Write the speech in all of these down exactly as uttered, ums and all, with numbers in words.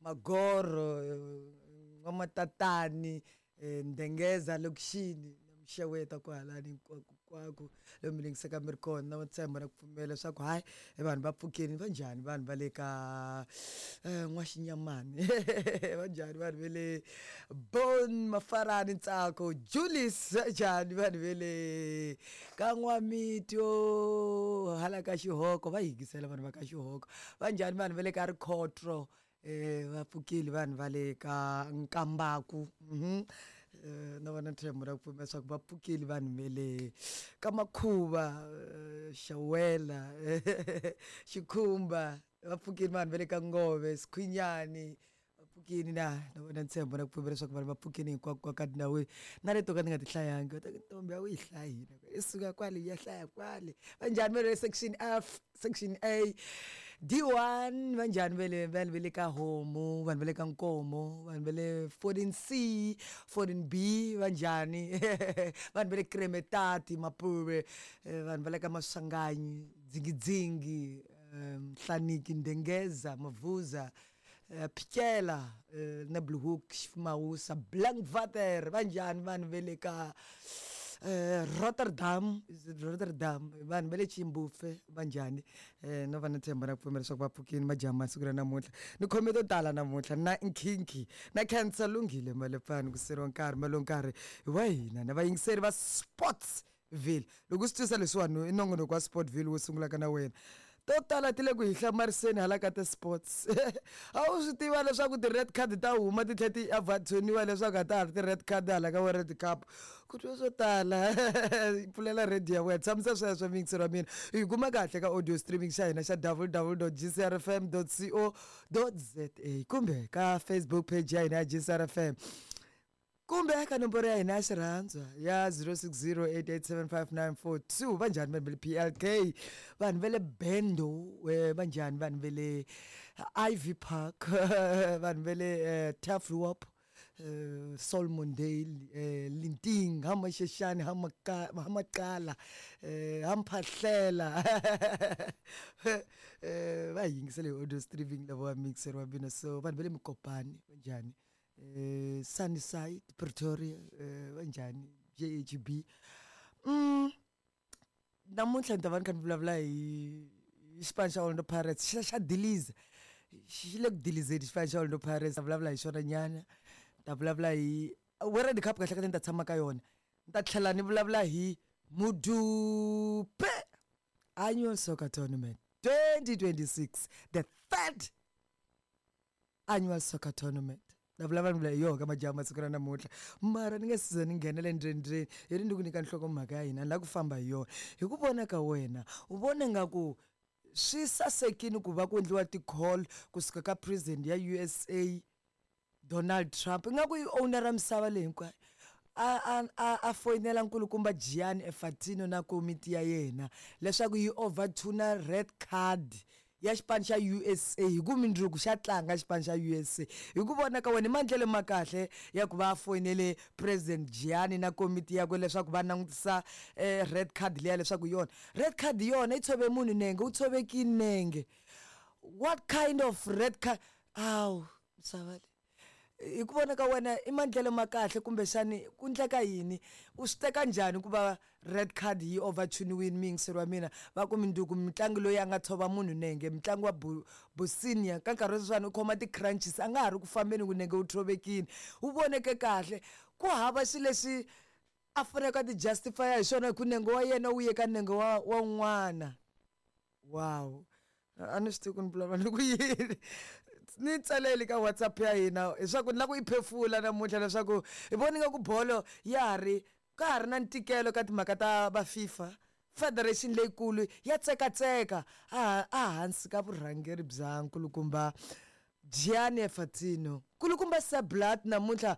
Magoro, N'wamatatani, Ndengeza lokixini na mixeweta kwahalani hinkwako hinkwako lomu mi yingisaka mi ri kona na ntshembo na ku pfumela leswaku hayi vanhu va pfukile va njhani vanhu va le ka N'waxinyamani va njhani vanhu va le Bon Mafarani Ntsako Julius va njhani vanhu va le ka N'wamityo hala ka Xihoko va yingisela vanhu va ka Xihoko va njhani vanhu va le ka Rikhotro eh va pfukile vanhu va le ka Nkambaku mhm na vona ntshembo na ku pfumela leswaku va pfukile vanhu va le ka Makhuva Xawela Xikhumba va pfukile vanhu va le ka Ngove Sikhwinyani va pfukile na na vona ntshembo na ku pfumela leswaku vanhu va pfukile hinkwako ka tindhawini na leto ka ni nga ti hlayangi va ta ku ntombi a wu yi hlayi i suka kwale yi ya hlaya kwale va njhani va le section F section A D one va njhani va le vanhu va le ka Homu vanhu va le ka Nkomo vanhu va le fourteen C fourteen B va njhani vanhu va le Kremetati Mapuve vanhu va le ka Maswanganyi Dzingidzingi Nhlaniki Ndengeza Mavuza Phikela Nebelhoek Xifumawusa Blankwater va njhani vanhu va le ka Rotterdam is it Rotterdam vanhu va le Chimbufe va njhani no va na ntshembo na ku pfumela leswaku va pfukile majaha siku ra namuntlha ni khome to tala namuntlha na nkhinkhi na khensa lunghile malepfani ku seriwa nkarhi malo nkarhi wa hina na vayingiseri va Sportsville loko u swi twisa leswiwani i nongonoko wa Sportville wu sungulaka na wena to tala ti le ku hi hlamariseni hala ka ti-sports a wu swi tiva leswaku ti-red card ta huma ti tlhela ti avathoniwa leswaku a ta ha ri ti-red card hala ka World Cup ku twa swo tala pfulela radio ya wena tshamisa sweswo muyingiseri wa mina hi kuma kahle ka audio streaming xa hina xa w w dot g c r f m dot co dot z a kumbe ka Facebook page ya hina ya G C R F M kumbe ka nomboro ya hina ya xirhandzwa ya zero six zero eight eight seven five nine four two va njhani vanhu va le P L K vanhu va le Bendo va njhani vanhu va le Ivy Park vanhu va le Turfloop Solomondale Linting ha Mashashani ha ha Maqala ha Mphahlela va hi yingisele hi audio streaming lava mixer wa mina so vanhu va le Mokopane va njhani eh Sunnyside Pretoria va njhani J H B mm namuntlha ni ta va ni kha ni vulavula hi xipano xa Orlando Pirates xa xa diliza xi le ku dilizeni xipano xa Orlando Pirates ta vulavula hi xona nyana ta vulavula hi World Cup kahle kahle ni ta tshama ka yona ni ta tlhela ni vulavula hi Mudupe Annual Soccer Tournament twenty twenty-six the third annual soccer tournament na vulavula ni vula hi yoho ka majaha masiku ra namuntlha mara ni nga siza ni nghenela endzeni hi ri ni ku nyika nhlokomhaka ya hina ni lava ku famba hi yona hi ku vona ka wena u vona nga ku swi sasekile ku va ku endliwa ti-call kusuka ka president ya U S A Donald Trump ingaku i owner ra misava leyi hinkwayo a a a a foyinela nkulukumba Gianni Infantino na komiti ya yena leswaku yi overtuna red card ya xipano xa U S A hi ku mindzuku xa tlanga xipano xa U S A hi ku vona ka wena i maendlelo ma kahle ya ku va foyinele president Gianni na komiti yakwe leswaku va langutisa red card liya leswaku yona red card yona yi tshove munhu nenge wu tshovekile nenge what kind of red card awu misava leyi hi ku vona ka wena i maendlelo ma kahle kumbexani ku endleka yini u swi teka njhani ku va red card yi overtuniwile muyingiseri wa mina va ku minduku mutlangi loyi a nga tshova munhu nenge mutlangi wa Bosnia ka nkarhi wa sweswiwani u khoma ti-crunches a nga ha ri ku fambeni ku nenge wu tshovekile wu voneke kahle ku hava xilo lexi a faneleke a ti justify hi xona hi ku nenge wa yena wu ye ka nenge wa wa un'wana wow a ni swi tivi ku ni vulavula ni ku yini ni tsaleli ka WhatsApp ya hina leswaku ni lava ku yi phefula namuntlha leswaku hi vona nga ku bolo ya ha ri ka ha ri na ntikelo ka timhaka ta va FIFA federation leyikulu ya tsekatseka a a hansi ka vurhangeri bya nkulukumba Gianni Infantino nkulukumba Sepp Blatter namuntlha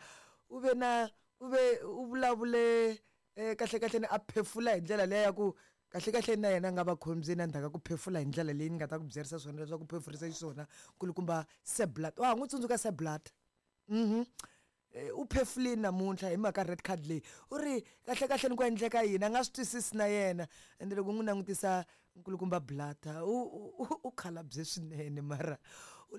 u ve na u ve u vulavule kahle kahle ni a phefula hi ndlela leya ya ku kahle kahle na yena a nga va khombyeni endzhaku ka ku phefula hi ndlela leyi ni nga ta ku byerisa swona leswaku phefurisa xiswona nkulukumba Sepp Blatter wa ha n'wi tsundzuka Sepp Blatter mhm u phefulile namuntlha hi mhaka red card leyi u ri kahle kahle ni ku endleka yini a nga swi twisisi na yena ende loko n'wi langutisa nkulukumba Blatter u u khalabye swinene mara